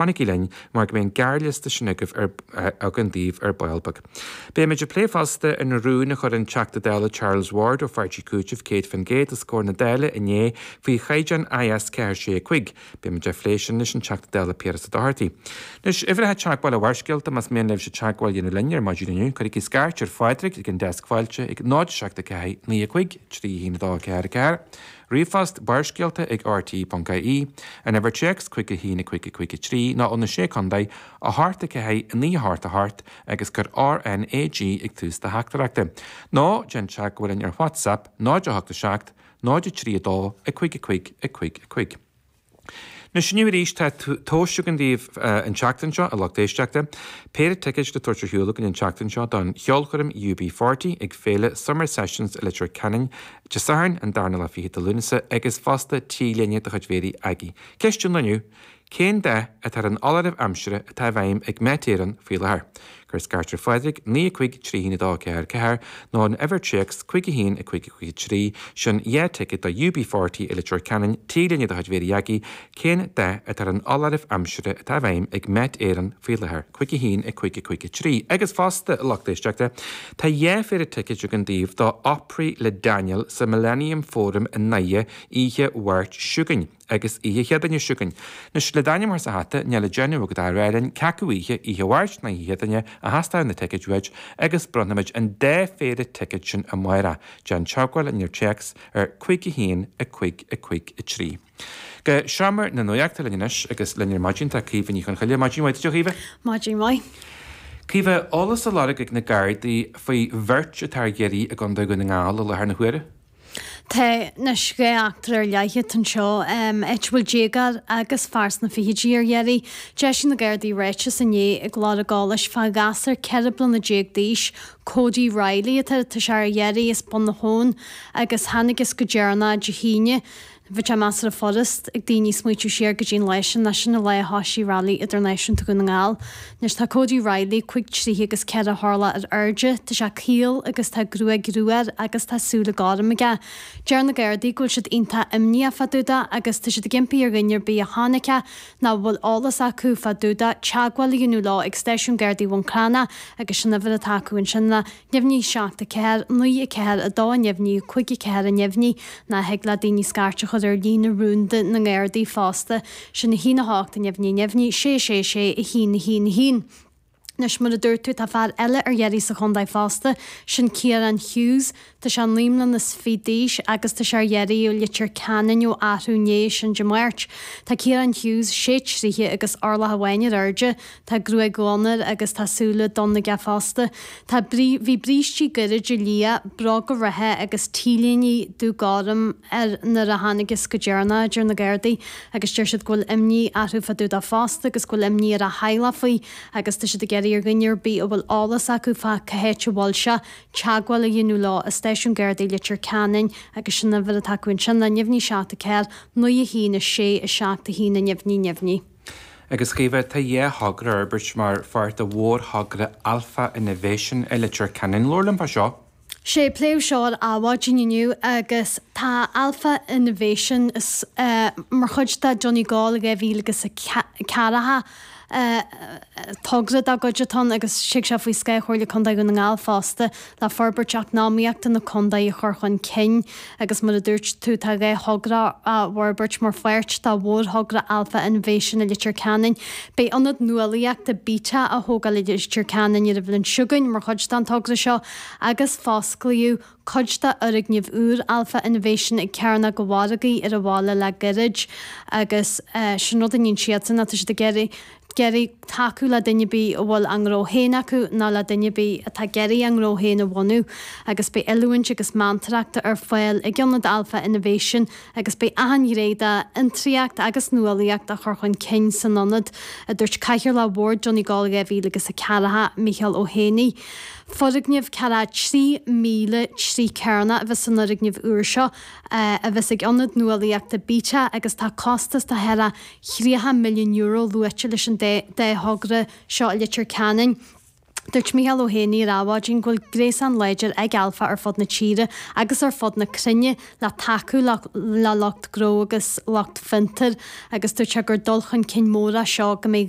Fanaigí linn mar go mbeidh an gearrliosta sin agaibh ar againn daoibh ar ball beag. Beimid ag plé fosta an rún a chuir an Teachta Dála Charles Ward ó Pháirtí Cúitimh 100% os comhair na Dála inné faoi chaighdeán IS 4 6 5. Beimid á phlé sin leis an Teachta Dála Piaras Ó Dochartaigh. Anois, uimhreacha teagmhála Bharrscéalta, más mian libhse teagmháil a dhéanamh linn ar maidin inniu, cuirigí scairt ar Phádraig ag an deasc fáilte ag 0 7 4 9 5 3 1 2 4 4. Ríomhphost, Barrscéalta ag rte.ie, An uimhir téacs 5 1 5 5 3 nó ó na Sé Contae, 8 4 9 8 8 agus cuir RNAG ag tús do theachtaireachta. Nó déan teagmháil linn ar WhatsApp 0 8 7 0 3 2 5 5 5 5. Anois inniu arís tá tomhais againn daoibh an tseachtain seo, a lucht éisteachta. Péire ticéid le tabhairt ar shiúl againn an tseachtain seo don cheolchoirm UB40 ag féile Summer Sessions i Leitir Ceanainn Dé Sathairn an darna lá fichead de Lúnasa agus fosta T-léine de chuid Mhéirí Aggie. Ceist an lae inniu, Cén dath atá ar an fholáireamh aimsire atá i bhfeidhm ag Met Éireann faoi láthair? Cuir scairt ar Phádraig, 9 5 3 1 2 4 4, nó an uimhir téacs 5 1 5 5 3, sin 2 ticéad do UB40 i Leitir Ceanainn, T-léine de chuid Mhéirí Aggie, Cén dath atá ar an fholáireamh aimsire atá i bhfeidhm ag Met Éireann faoi láthair? 5 1 5 5 3. Agus fosta, a lucht éisteachta, tá 2 phéire ticéid againn daoibh do Opry le Daniel sa Millennium Forum i nDoire oíche Mháirt seo chugainn. agus oíche Chéadaoine seo chugainn. Anois, le d'ainm a chur sa hata, níl le déanamh agat ach a rá linn cé acu oíche, oíche Mháirt nó oíche Chéadaoine, a theastóidh na ticéid uait agus bronnfaimid an dá phéire ticéad sin amárach. Déan teagmháil linn ar téacs ar 5 1 5 5 3. Go seomra na nuachta linn anois agus linn ar maidin tá Caoimhe Ní Chonchoille. Maidin mhaith duit a Chaoimhe. Maidin mhaith. Caoimhe, eolas á lorg ag na Gardaí faoi bheirt atá ar iarraidh i gContae Dhún na nGall i láthair na huaire. Tá anois 2 eachtra ar leith atá anseo, áit a bhfuil déagóir agus fear sna fichidí ar iarraidh. D'eisigh na Gardaí ráiteas inné ag lorg eolais fá ghasúr 14 bliana d'aois, Cody Reilly atá tá sé ar iarraidh as Bun na hAbhann agus thángthas go deireanach Dé hAoine. Bhí sé measartha furast ag daoine smaoitiú siar go dtí an lá sin, ná sin an lá a thoisigh Rally Idirnáisiúnta Dhún na nGall. Anois tá Cody Reilly 5 troighe agus 4 horlach ar airde, tá sé caol agus tá gruaig rua air agus tá súile gorm aige. Deir na Gardaí go bhfuil siad iontach imníoch fá dtaobh de agus tá siad ag impí ar dhuine ar bith a chonaic é nó a bhfuil eolas acu fá dtaobh de teagmháil a dhéanamh leo ag Stáisiún Gardaí Bhun Cranncha agus sin uimhir atá acu ansin ná Neamhní 7 4 9 4 2 Neamhní 5 4 Neamhní nó thig le daoine scairt a chur ar líne rúnda na nGardaí fosta, sin 1 8 Neamhní Neamhní 6 6 6 1 1 1. Anois, mar a dúirt tú, tá fear eile ar iarraidh sa chontae fosta, sin Ciarán Hughes. Tá sé 29 mbliana d'aois agus tá sé ar iarraidh ó Leitir Ceanainn ó arú inné, sin Dé Máirt. Tá Ciarán Hughes 6 troighe agus orlach amháin ar airde. Tá gruaig dhonn air agus tá súile donna aige fosta. Tá brí, bhí brístí gairide liath, bróga reatha agus t-léine dubh gorm air nuair a thángthas go deireanach, a deir na Gardaí, agus deir siad go bhfuil imní orthu fá dtaobh dó fosta agus go bhfuil imní ar a theaghlach faoi agus tá siad ag iarraidh ar dhuine ar bith a bhfuil eolas acu fá cá háit a bhfuil sé, teagmháil a dhéanamh leo i Stáisiún Gardaí Leitir Ceanainn agus sin uimhir atá acu ansin, ná neamhní 7 4 9 1 6 7 1 neamhní neamhní. Agus a Chaoimhe, tá dhá thogra á bhforbairt mar pháirt de mhórthogra Alpha Innovation i Leitir Ceanainn. Labhair liom fá seo. Sé, pléadh seo ar Adhmhaidin inniu agus tá Alpha Innovation mar chuid de Donegal 2000 agus 40. Togra dá gcuid atá ann agus tig sé faoi scáth Chomhairle Contae Dhún na nGall fosta le forbairt eacnamaíochta na contae a chur chun cinn agus mar a dúirt tú tá 2 thogra á bhforbairt mar pháirt de mhórthogra Alpha Innovation i Leitir Ceanainn. Beidh ionad nuálaíochta Beta á thógáil i Leitir Ceanainn ar an bhliain seo chugainn mar chuid den togra seo agus fosclaíodh cuid de fhoirgneamh úr Alpha Innovation ag Cearnóg an Mhargaidh ar an bhaile le gairid agus sin rud a níonn siadsan ná tá siad ag iarraidh iarraidh tacú le duine ar bith a bhfuil a ngnó féin acu nó le duine ar bith atá ag iarraidh a ngnó féin a bhunú agus beidh oiliúint agus meantóireacht ar fáil ag ionad Alpha Innovation agus beidh achan ghné de fhiontraíocht agus nuálaíocht á chur chun cinn san ionad, a dúirt Cathaoirleach Bhord Donegal 2000 agus 4, Micheál Ó hÉanaí. Foirgneamh 3,000 troigh cearnach a bheas san fhoirgneamh úr seo, a bheas ag Ionad Nuálaíochta Beta agus tá costas de thart ar €30 milliún luaite leis an dá thogra seo i Leitir Ceanainn. Dúirt Mícheál Ó hÉanaí ar Adhmhaidin go bhfuil gréasán láidir ag Alpha ar fud na tíre agus ar fud na cruinne le tacú le lucht gnó agus lucht fiontair agus dúirt sé gur dul chun cinn mór é seo go mbeidh.